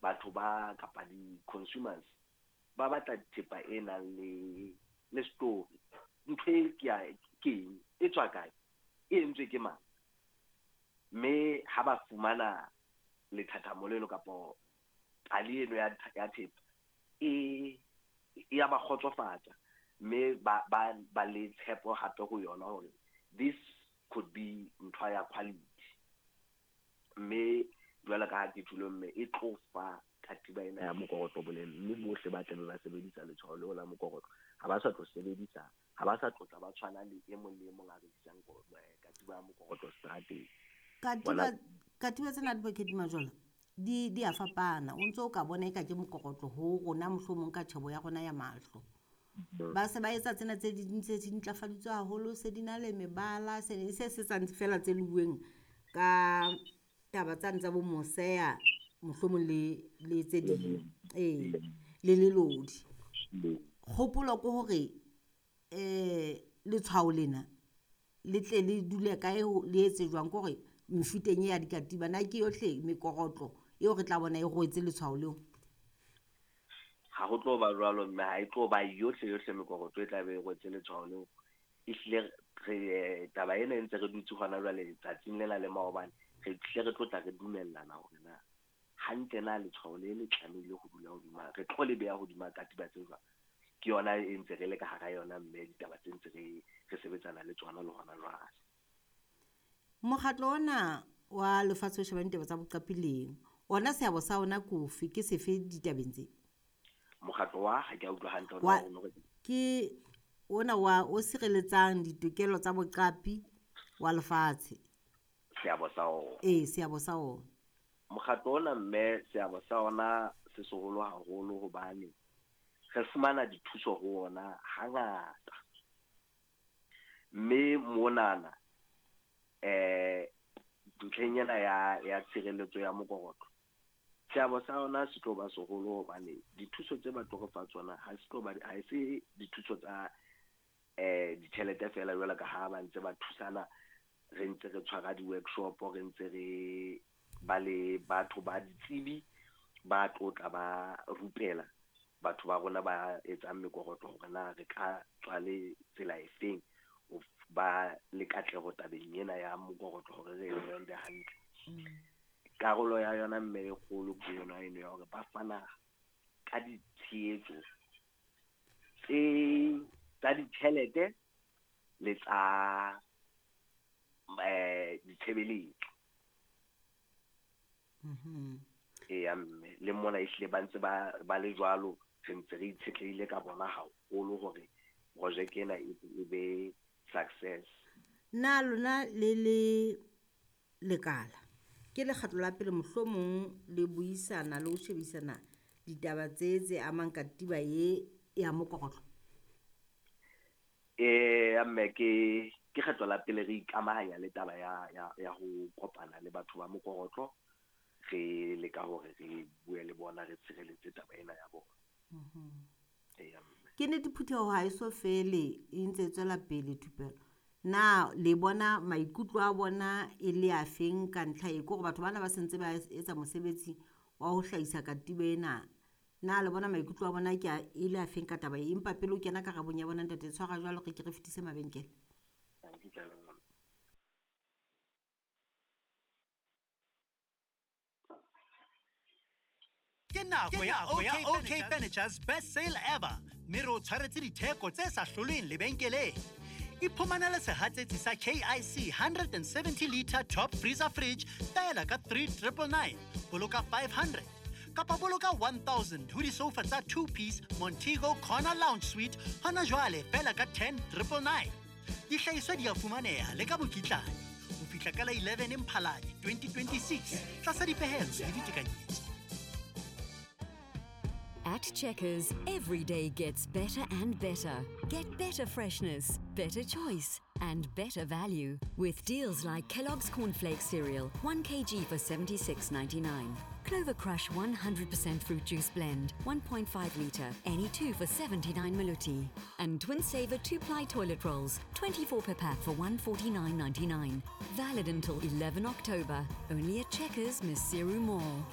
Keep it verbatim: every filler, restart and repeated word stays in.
Batho ba kapa di-consumers ba batla thepa e nang le le story. Ntho e ke ya ke eng, e tswa kae, e entswe ke mang? Mme ha ba fumana lethathamo leno kapa pale eno ya ya thepa e e ya ba kgotsofatsa, mme ba ba ba le tshepo hape ho yona hore this could be ntho ya quality. Mme jwalo ka ha ke tjholo, mme e tlo fa katiba ena ya mokorotlo boleng, mme bohle ba tlabe ba sebedisa letshwao leo la mokorotlo ha ba sa tlo sebedisa, ha ba sa tlo tla ba tshwana le e mong le e mong a rekisang katiba ya mokorotlo seterateng. Katiba katiba tsena Advocate Majola di di a fapana. O ntso o ka bona eka ke mokorotlo ho rona, mohlomong ka tjhebo ya rona ya mahlo. Ba se ba etsa tsena tse ding tse di ntlafaditswe haholo, se di na le mebala, se se se tsang fela tse luweng ka taba tsane tsa bo moseya, mohlomong le le tse ding, ee, le lelodi. Kgopolo ke hore eh letshwao lena le tle le dule kae, le etse jwang? Ke hore mefuteng e ya dikatiba na ke yohle mekorotlo eo re tla bona e rwetse letshwao leo? Ha ho tlo ba jwalo, mme ha e tlo ba yohle yohle mekorotlo e tla be e rwetse letshwao leo. Ehlile re taba ena e ntse re dutse hona jwale tsatsing lena le maobane, re tlile re tlo tla re dumellana hore na hantle na letshwao le le tlamehile ho dula hodima, re tlo le beha hodima katiba tse jwang. Ke yona e ntse re le ka hara yona, mme ditaba tse ntse re re sebetsana le tsona le hona jwale. Mokgatlo ona wa lefatshe o shebang ditaba tsa boqapi leng ona, seabo sa ona ke ofe, ke sefe ditabeng tse? Mokgatlo wa, ha ke a utlwa hantle Wa hore ke ona wa o sireletsang ditokelo tsa boqapi wa lefatshe. Seabo sa ona. Ee, seabo sa ona. Mokgatlo ona, mme, seabo sa ona se seholo haholo hobane re fumana dithuso ho ona hangata. Mme monana eh ntlheng ena ya ya tshireletso ya mokorotlo, seabo sa ona se tlo ba seholo hobane dithuso tse ba tlo re fa tsona ha se tlo ba, ha se dithuso tsa eh ditjhelete feela jwalo ka ha ba ntse ba thusana, re ntse re tshwara di-workshop, re ntse re ba le batho ba ditsebi ba tlo tla ba rupela batho ba rona ba etsang mekorotlo hore na re ka tswa le tsela efeng ho ba le katleho tabeng ena ya mokorotlo hore re e brande hantle. Karolo ya yona mme e kgolo ke yona eno ya hore ba fana ka ditshehetso tse tsa ditjhelete le tsa eh ditshebeletso. Mhm. Eya mme, le mona ehlile ba ntse ba ba le jwalo, re ntse re itshetlehile ka bona haholo hore projeke ena e e be success. Na lona le le lekala ke lekgetlo la pele mohlomong le buisana le ho shebisana ditaba tse tse amang katiba e ya mokorotlo? Eya mme, ke ke kgetlo la pele re ikamahanya le taba ya ya ya ho kopana le batho ba mokorotlo, re leka hore re bue le bona, re tshireletse taba ena ya bona. Eya mme. Ke nnete phutheho ha e so fele, e ntse e tswela pele thupelo. Na le bona maikutlo a bona e le a feng ka ntlha e? Ke hore batho bana ba sentse ba etsa mosebetsi wa ho hlahisa katiba ena. Na le bona maikutlo a bona ke a e le a feng ka taba e? Empa pele o kena karabong ya bona, ntate, tshwara jwalo re ke re fetise mabenkele. Thank you. Ke nako ya O K Furniture's best sale ever, mme re o tshwaretse ditheko tse sa hlolweng lebenkeleng. Iphumanele sehatsetsi sa K I C one hundred seventy liter top freezer fridge fela ka three triple nine, boloka five hundred, kapa boloka one thousand ho disofa tsa two piece Montego Corner Lounge Suite hona jwale fela ka ten triple nine. Dihlahiswa di a fumaneha le ka mokitlane ho fihla ka la eleven Mphalane twenty twenty-six tlasa dipehelo le ditekanyetso. At Checkers, every day gets better and better. Get better freshness, better choice, and better value with deals like Kellogg's Cornflakes cereal, one kilogram for seventy-six ninety-nine. Clover Crush one hundred percent fruit juice blend, one point five litre, any two for seventy-nine Maloti. And Twin Saver two-ply toilet rolls, twenty-four per pack for one forty-nine ninety-nine. Valid until eleven October. Only at Checkers, Maseru Mall.